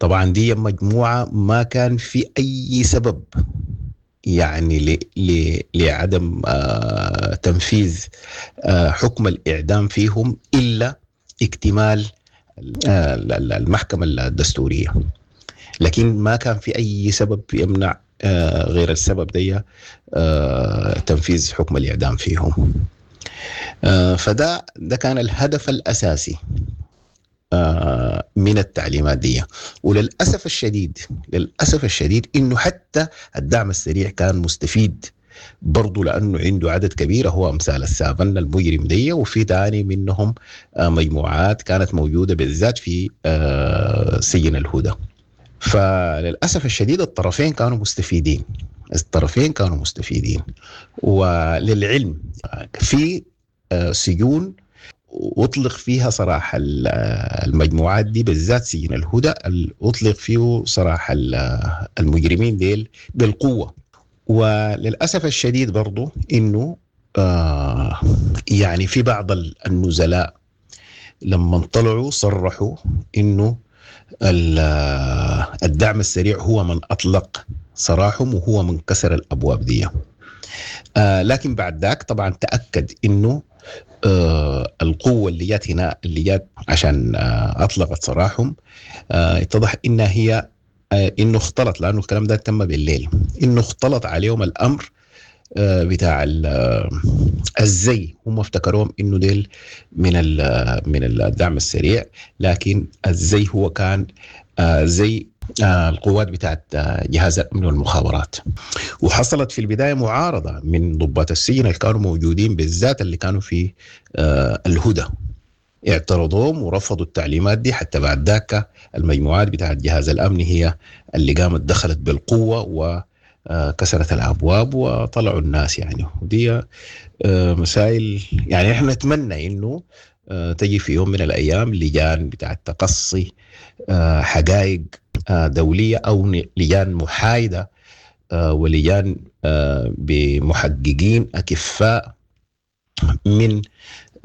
طبعا دي مجموعة ما كان في أي سبب يعني لعدم تنفيذ حكم الإعدام فيهم إلا اكتمال المحكمة الدستورية، لكن ما كان في أي سبب يمنع غير السبب دي تنفيذ حكم الإعدام فيهم. فده كان الهدف الأساسي من التعليمات دي. وللأسف الشديد، للأسف الشديد إنه حتى الدعم السريع كان مستفيد برضو، لأنه عنده عدد كبير هو أمثال السافن المجرم دي، وفي تاني منهم مجموعات كانت موجودة بالذات في سجن الهدى. فللأسف الشديد الطرفين كانوا مستفيدين، الطرفين كانوا مستفيدين. وللعلم في سجون أطلق فيها صراحة المجموعات دي، بالذات سجن الهدى أطلق فيه صراحة المجرمين ديل بالقوة. وللأسف الشديد برضو إنه يعني في بعض النزلاء لما طلعوا صرحوا إنه الدعم السريع هو من أطلق سراحهم وهو من كسر الأبواب دي. لكن بعد ذاك طبعا تأكد إنه القوة اللي جات هنا، اللي جات عشان أطلقت سراحهم، اتضح إنها هي إنه اختلط، لأنه الكلام ده تم بالليل، إنه اختلط عليهم الأمر بتاع الزي. هم افتكروهم إنه ديل من الدعم السريع، لكن الزي هو كان زي القوات بتاعت جهاز الأمن والمخابرات. وحصلت في البداية معارضة من ضباط السجن اللي كانوا موجودين، بالذات اللي كانوا في الهدى، اعترضوهم ورفضوا التعليمات دي. حتى بعد ذاك المجموعات بتاعت جهاز الأمن هي اللي قامت دخلت بالقوة وكسرت الأبواب وطلعوا الناس يعني. ودي مسائل يعني احنا نتمنى إنه تجي في يوم من الأيام لجان بتاعت تقصي حقائق دولية، أو لجان محايدة ولجان بمحققين أكفاء من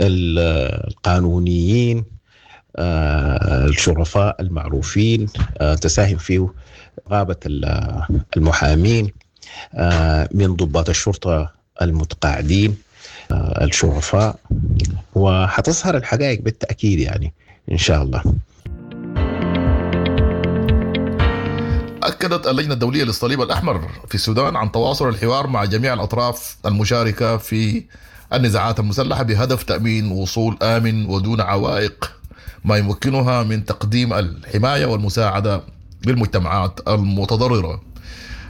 القانونيين الشرفاء المعروفين، تساهم فيه غابة المحامين، من ضباط الشرطة المتقاعدين الشرفاء، وحتظهر الحقائق بالتأكيد يعني إن شاء الله. أكدت اللجنة الدولية للصليب الأحمر في السودان عن تواصل الحوار مع جميع الأطراف المشاركة في النزاعات المسلحة بهدف تأمين وصول آمن ودون عوائق، ما يمكنها من تقديم الحماية والمساعدة للمجتمعات المتضررة.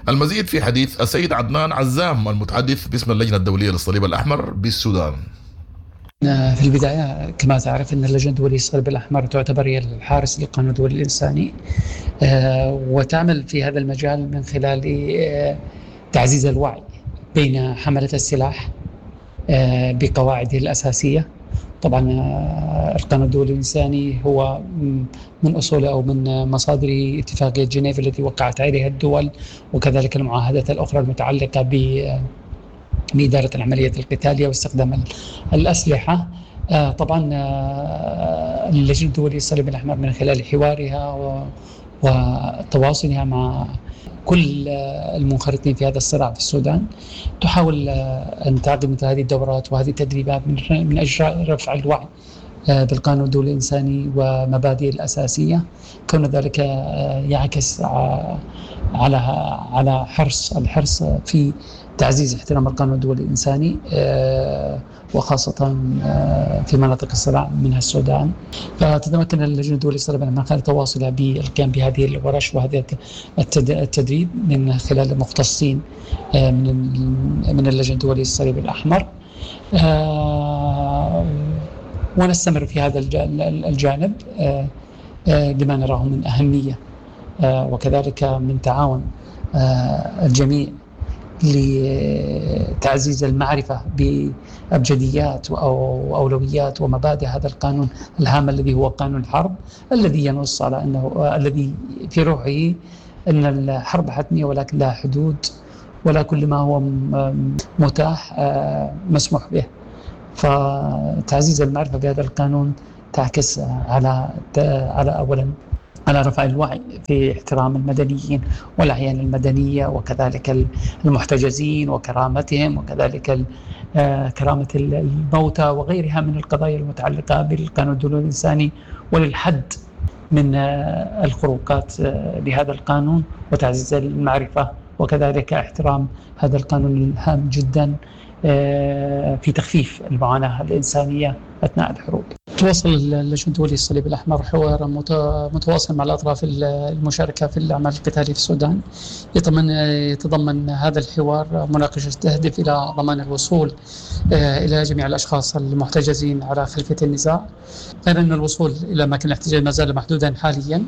المزيد في حديث السيد عدنان عزام المتحدث باسم اللجنة الدولية للصليب الأحمر بالسودان. في البداية كما تعرف أن اللجنة الدولية للصليب الأحمر تعتبر هي الحارس للقانون الدولي الإنساني، وتعمل في هذا المجال من خلال تعزيز الوعي بين حملة السلاح بقواعده الأساسية. طبعا القانون الدولي الإنساني هو من أصوله أو من مصادره اتفاقية جنيف التي وقعت عليها الدول، وكذلك المعاهدات الأخرى المتعلقة بإدارة العمليات القتالية واستخدام الأسلحة. طبعا اللجنة الدولية للصليب الأحمر من خلال حوارها وتواصلها مع كل المنخرطين في هذا الصراع في السودان تحاول أن تعقد مثل هذه الدورات وهذه التدريبات من أجل رفع الوعي بالقانون الدولي الإنساني ومبادئه الأساسية، كون ذلك يعكس على الحرص في تعزيز احترام القانون الدولي الإنساني، وخاصة في مناطق الصراع منها السودان. فتتمكن اللجنة الدولية للصليب الأحمر من خلال تواصلها بالقيام بهذه الورش وهذا التدريب من خلال المختصين من اللجنة الدولية للصليب الأحمر، ونستمر في هذا الجانب لما نراه من أهمية، وكذلك من تعاون الجميع لتعزيز المعرفة بأبجديات وأولويات ومبادئ هذا القانون الهام الذي هو قانون الحرب، الذي ينص على أنه الذي في روحه أن الحرب حتمية ولكن لها حدود، ولا كل ما هو متاح مسموح به. فتعزيز المعرفة بهذا القانون تعكس على أولا على رفع الوعي في احترام المدنيين والأعيان المدنية، وكذلك المحتجزين وكرامتهم، وكذلك كرامة الموتى وغيرها من القضايا المتعلقة بالقانون الدولي الإنساني، وللحد من الخروقات لهذا القانون وتعزيز المعرفة، وكذلك احترام هذا القانون الهام جدا في تخفيف المعاناة الإنسانية أثناء الحروب. تواصل اللجنة الدولية للصليب الأحمر حوارا متواصل مع الأطراف المشاركة في الأعمال القتالية في السودان. يتضمن هذا الحوار مناقشة تهدف إلى ضمان الوصول إلى جميع الأشخاص المحتجزين على خلفية النزاع، غير أن الوصول إلى أماكن الاحتجاز ما زال محدودا حاليا،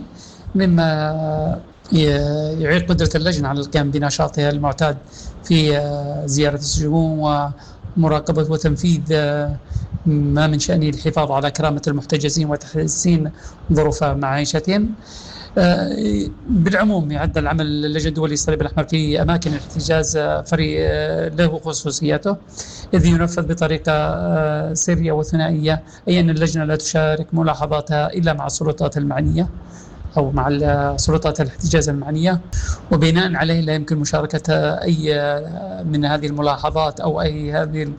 مما يعيق قدرة اللجنة على القيام بنشاطها المعتاد في زيارة السجون ومراقبة وتنفيذ ما من شأنه الحفاظ على كرامة المحتجزين وتحسين ظروف معيشتهم. بالعموم يعد العمل اللجنة الدولية للصليب الأحمر في أماكن الاحتجاز فريق له خصوصيته، إذ ينفذ بطريقة سرية وثنائية، أي أن اللجنة لا تشارك ملاحظاتها إلا مع السلطات المعنية أو مع سلطات الاحتجاز المعنية، وبناء عليه لا يمكن مشاركة أي من هذه الملاحظات أو أي هذه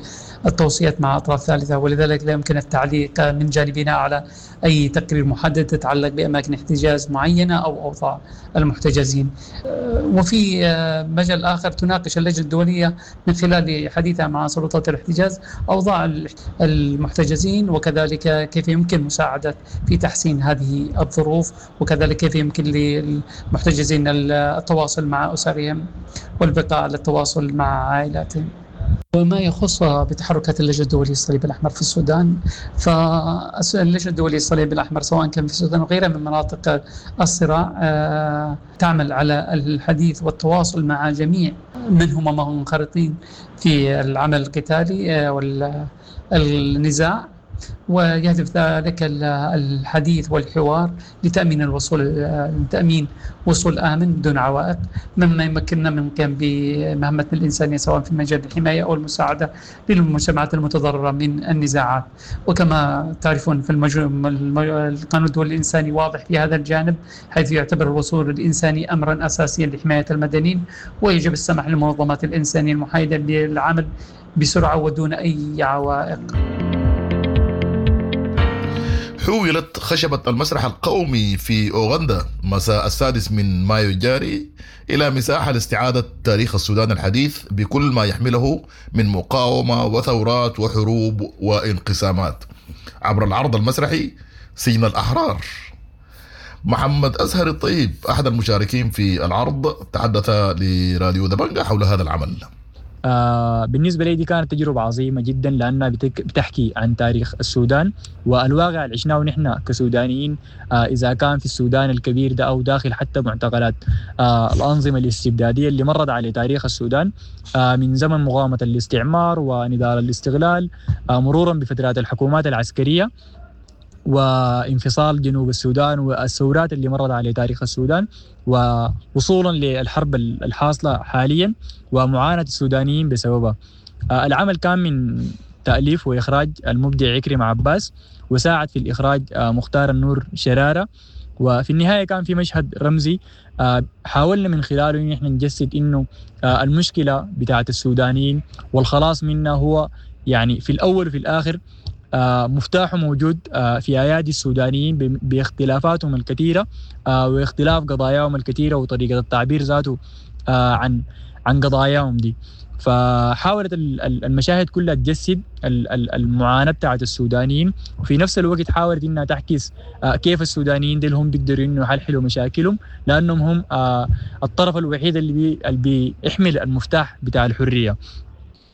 التوصيات مع أطراف ثالثة، ولذلك لا يمكن التعليق من جانبنا على أي تقرير محدد تتعلق بأماكن احتجاز معينة أو أوضاع المحتجزين. وفي مجال آخر تناقش اللجنة الدولية من خلال حديثها مع سلطات الاحتجاز أوضاع المحتجزين، وكذلك كيف يمكن مساعدة في تحسين هذه الظروف، وكذلك كيف يمكن للمحتجزين التواصل مع أسرهم والبقاء على التواصل مع عائلاتهم. وما يخص بتحركات اللجنة الدولية للصليب الأحمر في السودان، فاللجنة الدولية للصليب الأحمر سواء كان في السودان وغيرها من مناطق الصراع تعمل على الحديث والتواصل مع جميع من هم منخرطين في العمل القتالي والنزاع، ويهدف ذلك الحديث والحوار لتأمين لتأمين وصول آمن دون عوائق، مما يمكننا من القيام بمهمتنا الإنسانية سواء في مجال الحماية أو المساعدة للمجتمعات المتضررة من النزاعات. وكما تعرفون في القانون الدولي الإنساني واضح في هذا الجانب، حيث يعتبر الوصول الإنساني أمرا أساسيا لحماية المدنيين، ويجب السماح للمنظمات الإنسانية المحايدة بالعمل بسرعة ودون أي عوائق. حولت خشبة المسرح القومي في أوغندا مساء 6 من مايو الجاري إلى مساحة لاستعادة تاريخ السودان الحديث بكل ما يحمله من مقاومة وثورات وحروب وانقسامات عبر العرض المسرحي سجن الأحرار. محمد أزهر الطيب أحد المشاركين في العرض تحدث لراديو دبنجة حول هذا العمل. بالنسبة لي دي كانت تجربة عظيمة جدا، لأنها بتحكي عن تاريخ السودان والواقع اللي عشناه نحن كسودانيين، إذا كان في السودان الكبير ده أو داخل حتى معتقلات الأنظمة الاستبدادية اللي مرت على تاريخ السودان من زمن مقاومة الاستعمار ونضال الاستغلال، مرورا بفترات الحكومات العسكرية وانفصال جنوب السودان والثورات اللي مرت على تاريخ السودان، ووصولا للحرب الحاصلة حاليا ومعاناة السودانيين بسببها. العمل كان من تأليف وإخراج المبدع عكرمة عباس، وساعد في الإخراج مختار النور شرارة. وفي النهاية كان في مشهد رمزي حاولنا من خلاله إن احنا نجسد إنه المشكلة بتاعت السودانيين والخلاص منها هو يعني في الأول وفي الآخر مفتاحه موجود في أيادي السودانيين باختلافاتهم الكثيرة واختلاف قضاياهم الكثيرة وطريقة التعبير ذاته عن قضاياهم دي. فحاولت المشاهد كلها تجسد المعاناة بتاعت السودانيين، وفي نفس الوقت حاولت إنها تعكس كيف السودانيين دي هم بيقدروا إنه يحلحلوا مشاكلهم، لأنهم هم الطرف الوحيد اللي بيحمل المفتاح بتاع الحرية.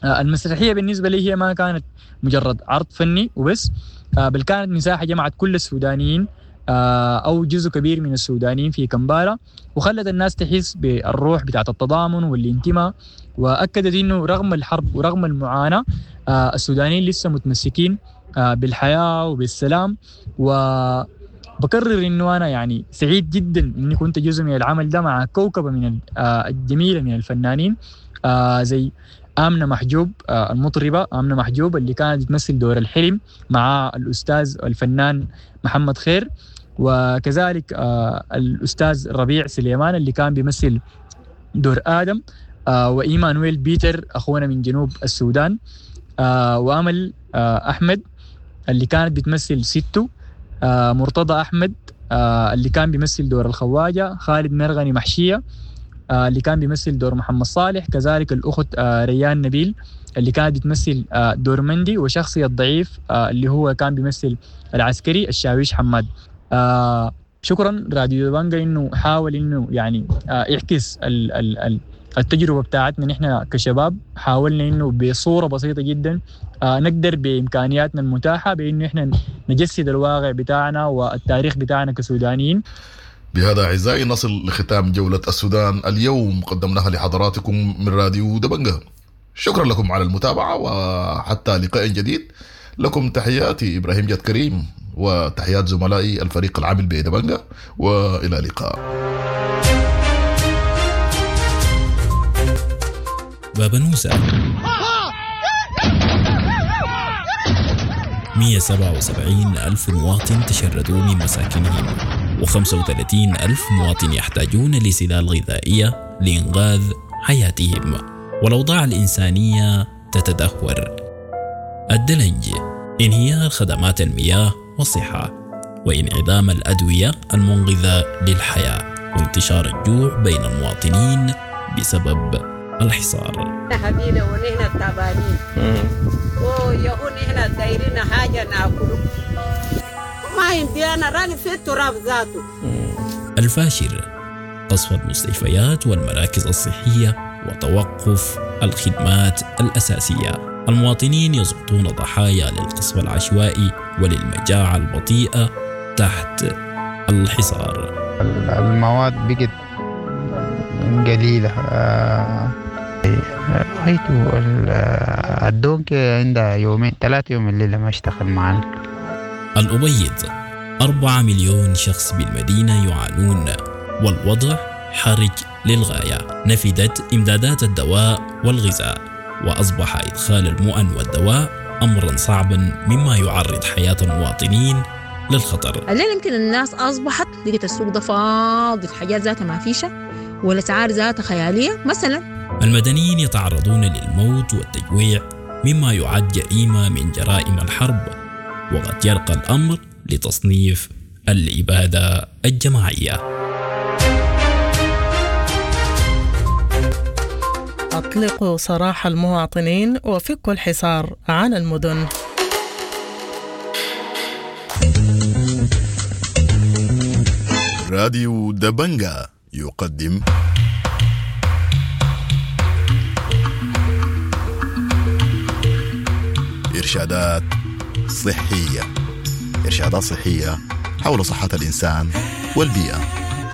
المسرحية بالنسبة لي هي ما كانت مجرد عرض فني وبس، بل كانت مساحة جمعت كل السودانيين أو جزء كبير من السودانيين في كمبالا، وخلت الناس تحس بالروح بتاعت التضامن والانتماء، وأكدت إنه رغم الحرب ورغم المعاناة السودانيين لسه متمسكين بالحياة وبالسلام. وبكرر إنه أنا يعني سعيد جدا إني كنت جزء من العمل ده مع كوكبة من الجميلة من الفنانين زي آمنة محجوب المطربة آمنة محجوب اللي كانت تمثل دور الحلم مع الأستاذ الفنان محمد خير، وكذلك الأستاذ ربيع سليمان اللي كان بيمثل دور آدم، وإيمانويل بيتر أخونا من جنوب السودان، وأمل أحمد اللي كانت بتمثل ستو، مرتضى أحمد اللي كان بيمثل دور الخواجة، خالد مرغني محشية اللي كان بيمثل دور محمد صالح، كذلك الأخت ريان نبيل اللي كانت بتمثل دور مندي، وشخصية الضعيف اللي هو كان بيمثل العسكري الشاويش حماد. شكرا راديو دبنجا انه حاول انه يعني يعكس التجربة بتاعتنا نحن كشباب. حاولنا انه بصورة بسيطة جدا نقدر بامكانياتنا المتاحة بانه احنا نجسد الواقع بتاعنا والتاريخ بتاعنا كسودانيين. بهذا أعزائي نصل لختام جولة السودان اليوم، قدمناها لحضراتكم من راديو دبنجا. شكرا لكم على المتابعة، وحتى لقاء جديد لكم تحياتي إبراهيم جاد كريم وتحيات زملائي الفريق العامل بدبنجا، وإلى اللقاء. بابنوسة 177 ألف مواطن تشردوا من مساكنهم، و35 ألف مواطن يحتاجون لسلال غذائية لإنقاذ حياتهم، والأوضاع الإنسانية تتدهور. الدلنج، انهيار خدمات المياه والصحة، وانعدام الأدوية المنقذة للحياة، وانتشار الجوع بين المواطنين بسبب الحصار. حبينا ونحن تعبانين ويهون نحن دايرين حاجة ناكله ما عندي أنا راني في التراب ذاته. الفاشر، قصف المستشفيات والمراكز الصحية وتوقف الخدمات الأساسية. المواطنين يسقطون ضحايا للقصف العشوائي وللمجاعة البطيئة تحت الحصار. المواد بقت قليلة. رأيت الدونك عندها يومين 3 يوم الليلة ما اشتغل معنا. الأبيض، 4 مليون شخص بالمدينة يعانون، والوضع حرج للغاية. نفدت إمدادات الدواء والغذاء، وأصبح إدخال المؤن والدواء أمرا صعبا، مما يعرض حياة المواطنين للخطر. الليلة يمكن الناس أصبحت لقيت السوق ده فاضي، الحاجات ذاتها ما فيشة والأسعار ذاتها خيالية مثلا. المدنيين يتعرضون للموت والتجويع، مما يعد جريمة من جرائم الحرب، وقد يرقى الأمر لتصنيف الإبادة الجماعية. أطلقوا سراح المواطنين وفكوا الحصار عن المدن. راديو دبنجا يقدم إرشادات صحية. إرشادات صحية حول صحة الإنسان والبيئة.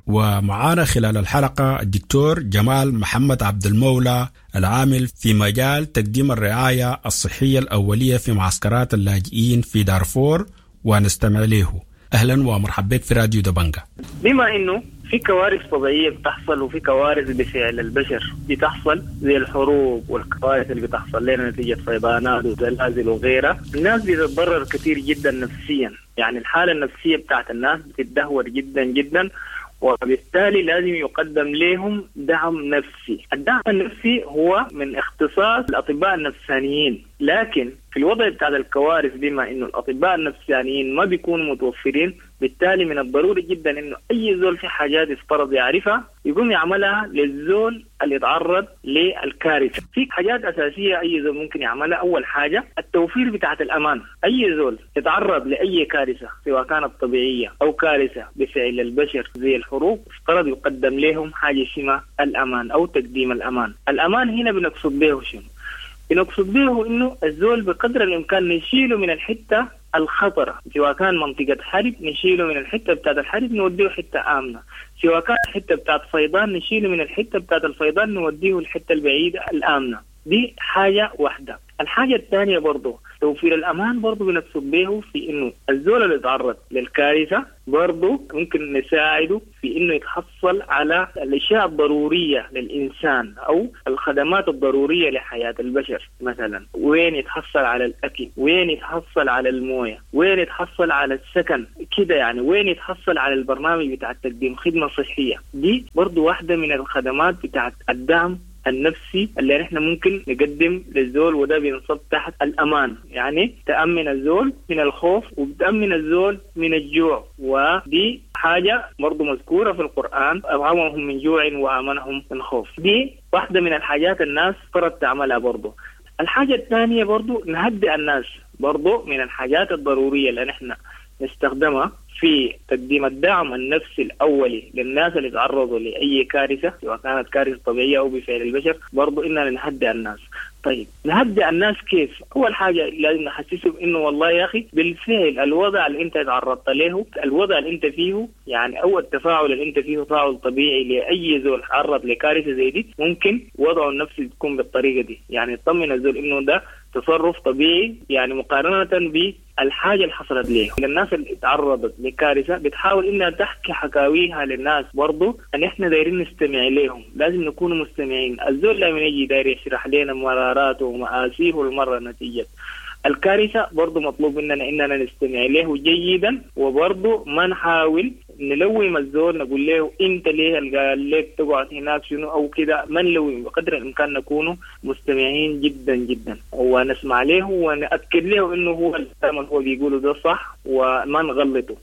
ومعانا خلال الحلقة الدكتور جمال محمد عبد المولى، العامل في مجال تقديم الرعاية الصحية الأولية في معسكرات اللاجئين في دارفور، ونستمع له. أهلا ومرحبا بك في راديو دبنجا. بما أنه في كوارث طبيعية بتحصل وفي كوارث بفعل البشر بتحصل، زي الحروب والكوارث اللي بتحصل لنا نتيجة فيضانات وزلازل وغيرها، الناس بتتضرر كثير جدا نفسيا. يعني الحالة النفسية بتاعت الناس بتتدهور جدا جدا، وبالتالي لازم يقدم لهم دعم نفسي. الدعم النفسي هو من اختصاص الأطباء النفسانيين، لكن في الوضع بتاع الكوارث بما إنه الأطباء النفسانيين ما بيكونوا متوفرين، بالتالي من الضروري جدا إنه أي زول في حاجات يفترض يعرفها يقوم يعملها للزول اللي يتعرض للكارثة. في حاجات أساسية أي زول ممكن يعملها. أول حاجة التوفير بتاعت الأمان. أي زول يتعرض لأي كارثة سواء كانت طبيعية أو كارثة بفعل البشر زي الحروب، افترض يقدم لهم حاجة اسمها الأمان أو تقديم الأمان. الأمان هنا بنقصد به شنو؟ بنقصد به إنه الزول بقدر الإمكان نشيله من الحتة الخطرة، سواء كان منطقة حرب نشيله من الحتة بتاعت الحرب نوديه حتة آمنة، سواء كان حتة بتاعت فيضان نشيله من الحتة بتاعت الفيضان نوديه الحتة البعيدة الآمنة. دي حاجة واحدة. الحاجة الثانية برضه توفير الأمان برضه بنقصد به في إنه الزول اللي تعرض للكارثة برضه ممكن نساعده في إنه يتحصل على الأشياء الضرورية للإنسان أو الخدمات الضرورية لحياة البشر. مثلا وين يتحصل على الأكل، وين يتحصل على الموية، وين يتحصل على السكن كده، يعني وين يتحصل على البرنامج بتاع تقديم خدمة صحية. دي برضه واحدة من الخدمات بتاعت الدعم النفسي اللي نحن ممكن نقدم للزول، وده بينصب تحت الأمان. يعني تأمن الزول من الخوف وبتأمن الزول من الجوع، ودي حاجة برضو مذكورة في القرآن، أطعمهم من جوع وآمنهم من خوف. دي واحدة من الحاجات الناس فرض تعملها برضو. الحاجة الثانية برضو نهدئ الناس، برضو من الحاجات الضرورية اللي نحن نستخدمها في تقديم الدعم النفسي الأولي للناس اللي تعرضوا لأي كارثة، سواء كانت كارثة طبيعية أو بفعل البشر، برضو إننا نهدئ الناس. طيب نهدئ الناس كيف؟ أول حاجة لازم نحسسهم إنه والله يا أخي بالفعل الوضع اللي أنت تعرضت له، الوضع اللي أنت فيه، يعني أو التفاعل اللي أنت فيه تفاعل طبيعي لأي زول تعرض لكارثة زي دي، ممكن وضعه النفسي تكون بالطريقة دي. يعني تطمن الزول إنه ده تصرف طبيعي، يعني مقارنة بالحاجة اللي حصلت ليه. الناس اللي تعرضت لكارثة بتحاول إنها تحكي حكاويها للناس، برضو أن إحنا دايرين نستمع لهم، لازم نكون مستمعين. الزول لما يجي داير يشرح لنا مراراته ومآسيه المرة نتيجة الكارثة، برضو مطلوب مننا إننا نستمع له جيدا، وبرضو ما نحاول نلوم الزول نقول له أنت ليه قال لك تقعد هناك شنو أو كده، ما نلوم، بقدر الإمكان نكون مستمعين جدا جدا ونسمع له ونأكد له إنه هو الكلام اللي هو بيقوله ده صح وما نغلطه.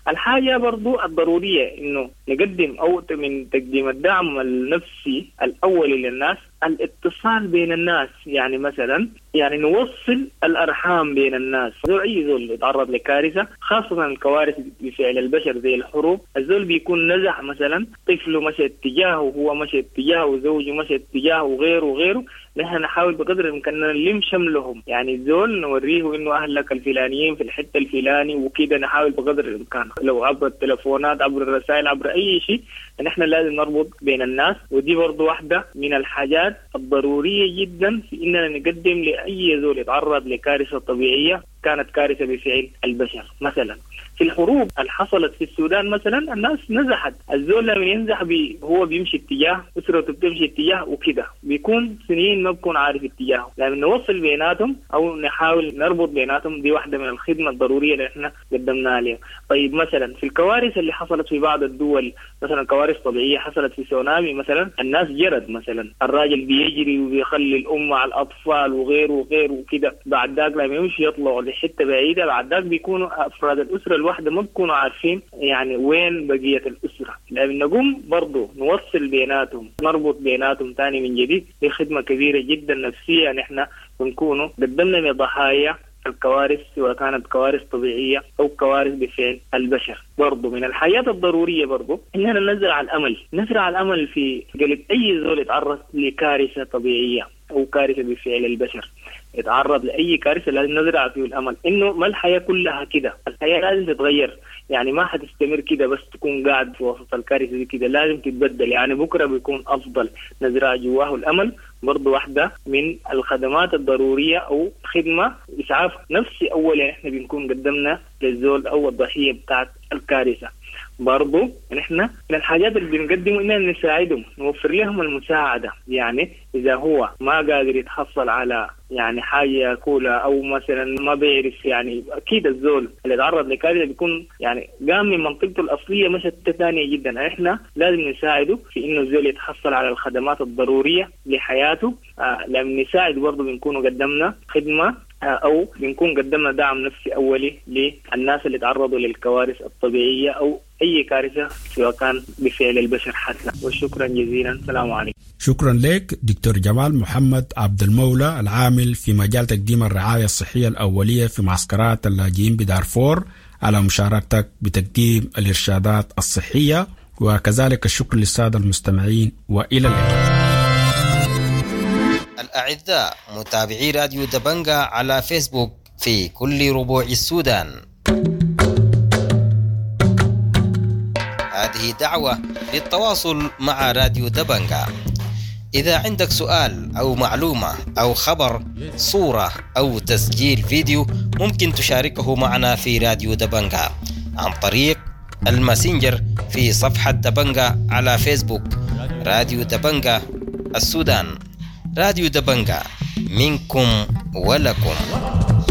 الحاجة برضو الضرورية إنه نقدم أو من تقديم الدعم النفسي الأولي للناس الاتصال بين الناس. يعني مثلا يعني نوصل الأرحام بين الناس. زول أي زول يتعرض لكارثة، خاصة الكوارث بفعل البشر زي الحروب، الزول بيكون نزح مثلا، طفله مشى اتجاهه وهو مشى اتجاهه وزوجه مشى اتجاهه وغيره وغيره. نحن نحاول بقدر الإمكان نلم شملهم، يعني الزول نوريه إنه أهلك الفلانيين في الحتة الفلاني وكده، نحاول بقدر الإمكان لو عبر التلفونات عبر الرسائل عبر أي شيء، نحن لازم نربط بين الناس. ودي برضو واحدة من الحاجات الضرورية جدا في إننا نقدم لأي زول يتعرض لكارثة طبيعية كانت كارثة بفعل البشر. مثلا في الحروب اللي حصلت في السودان مثلا الناس نزحت، الزول لما ينزح هو بيمشي اتجاه، أسرته بتمشي اتجاه وكده، بيكون سنين ما بيكون عارف اتجاهه. لما نوصل بيناتهم أو نحاول نربط بيناتهم، دي واحدة من الخدمة الضرورية اللي احنا قدمناها لهم. طيب مثلا في الكوارث اللي حصلت في بعض الدول، مثلا كوارث طبيعية حصلت في سونامي مثلا، الناس جرت مثلا، الراجل بيجري وبيخلي الأم مع الأطفال وغيره وغيره وكده، بعد ذاك لما يمشي يطلعوا لحتة بعيدة، بعد ذاك بيكونوا أفراد الأسرة الواحدة ما بيكونوا عارفين يعني وين بقية الأسرة. لما نقوم برضو نوصل بيناتهم، نربط بيناتهم تاني من جديد، دي خدمة كبيرة جدا نفسية نحن بنكونوا قدمنا لضحايا الكوارث، سواء كانت كوارث طبيعية أو كوارث بفعل البشر. برضو من الحياة الضرورية برضو إننا نزرع الأمل، نزرع الأمل في قلب أي زول يتعرض لكارثة طبيعية أو كارثة بفعل البشر، يتعرض لأي كارثة لازم نزرع فيه الأمل إنه ما الحياة كلها كده، الحياة لازم تتغير، يعني ما حتستمر كده بس تكون قاعد في وسط الكارثة دي كده، لازم تتبدل، يعني بكرة بيكون أفضل. نزرع جواه الأمل برضو واحدة من الخدمات الضرورية أو خدمة إسعاف نفسي أولا إحنا بنكون قدمنا للزول أو الضحية بتاعت الكارثة. برضو نحن من الحاجات اللي بنقدمه إننا نساعدهم، نوفر لهم المساعدة. يعني إذا هو ما قادر يتحصل على يعني حاجة ياكلها أو مثلا ما بيعرف، يعني أكيد الزول اللي تعرض لكارثة بيكون يعني قام من منطقته الأصلية مشت ثانية جدا، إحنا لازم نساعده في إنه الزول يتحصل على الخدمات الضرورية لحياته. لما نساعد برضو بنكون قدمنا خدمة أو بنكون قدمنا دعم نفسي أولي للناس اللي تعرضوا للكوارث الطبيعية أو أي كارثة سواء كان بفعل البشر حتى. وشكرا جزيلا، السلام عليكم. شكرا لك دكتور جمال محمد عبد المولى، العامل في مجال تقديم الرعاية الصحية الأولية في معسكرات اللاجئين بدارفور، على مشاركتك بتقديم الإرشادات الصحية، وكذلك الشكر للسادة المستمعين، وإلى اللقاء. الأعزاء متابعي راديو دبنجا على فيسبوك في كل ربوع السودان. هذه دعوة للتواصل مع راديو دبنجا. إذا عندك سؤال أو معلومة أو خبر، صورة أو تسجيل فيديو، ممكن تشاركه معنا في راديو دبنجا عن طريق الماسنجر في صفحة دبنجا على فيسبوك، راديو دبنجا السودان. راديو دبنجا، منكم ولكم.